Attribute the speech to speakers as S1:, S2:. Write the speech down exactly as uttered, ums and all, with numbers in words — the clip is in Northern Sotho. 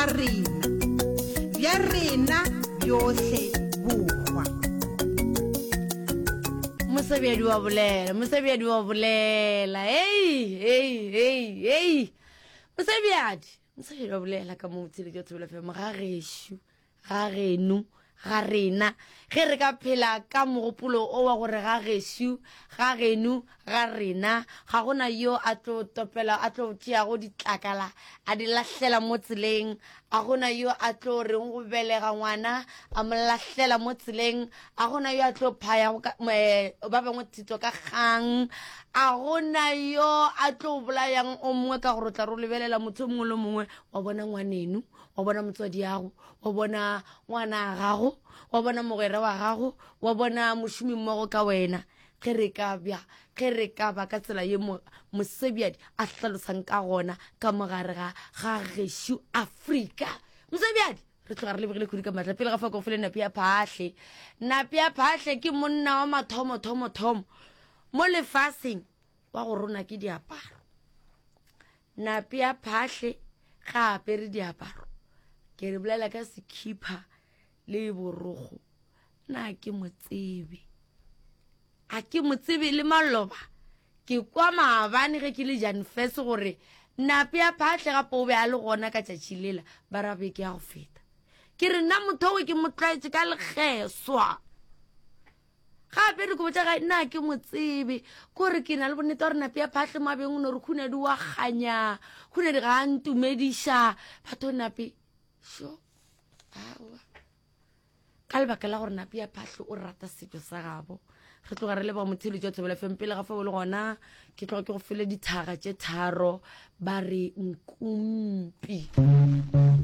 S1: Ga rena, bja rena bjohle bohwa.
S2: Mosebjadi wa bolela, mosebjadi wa bolela. Hei, hei, hei, hei. Mosebjadi, mosebjadi wa bolela ka mo tsheletšo Thobela F M ga gešo, ga geno, ga rena. Ge re ka phela ka mogopolo o wa gore ga gešo, ga geno, ga rena, ga gona yo a tlo topela, a tlo tšeago ditlakala, a di lahlela mo tseleng. A gona yo a tlo reng go belega ngwana, a mo lahlela mo tseleng. A gona yo a tlo phayago ka, eh, ba bangwe thito ka kgang. A gona yo a tlo bolayang o mongwe ka gore o tla re o lebelela motho o mongwe le mongwe, wa bona ngwaneno, wa bona motswadi yago, wa bona ngwana a gago, wa bona mogwera wa gago, wa bona mošomi mmogo ka wena. Ge re ka bja, ge re ka ba ka tsela ye mo-, mosebjadi a hlalosang ka gona ka mogare ga, ga gešo Afrika. Mosebjadi, re tloga re lebogile kudu ka matla. Pele ga fao ke go file Napi ya Phahle. Napi ya Phahle ke monna wa mathomo, thomo, thomo mo lefaseng wa go rona ke diaparo. Napi ya Phahle ga apere diaparo. Ke re bolela ka sekhipha le borogo. Na ke mo tsebe. A ke mo tsebe le maloba. Ke kwa maabane ge ke le Janfes gore Napi ya Phahle gape o be a le gona ka tšatši lela, ba ra beke ya go feta. Ke re nna motho owe ke mo tlwaetše ka lekgeswa. Gape re ko botša gae, nna ke mo tsebe. Kore ke na le bonnete gore Napi ya Phahle mo a beng o no re Khunadi wa kganya, Khunadi ga a ntumediša. Batho Napi, sho, aowa. Ka lebaka la gore Napi ya Phahle o rata setšo sa gabo. Re tloga re leboga motheeletši wa Thobela F M. Pele ga fao le gona, ke tloga ke go fele dithaga tše tharo, ba re nkumpi.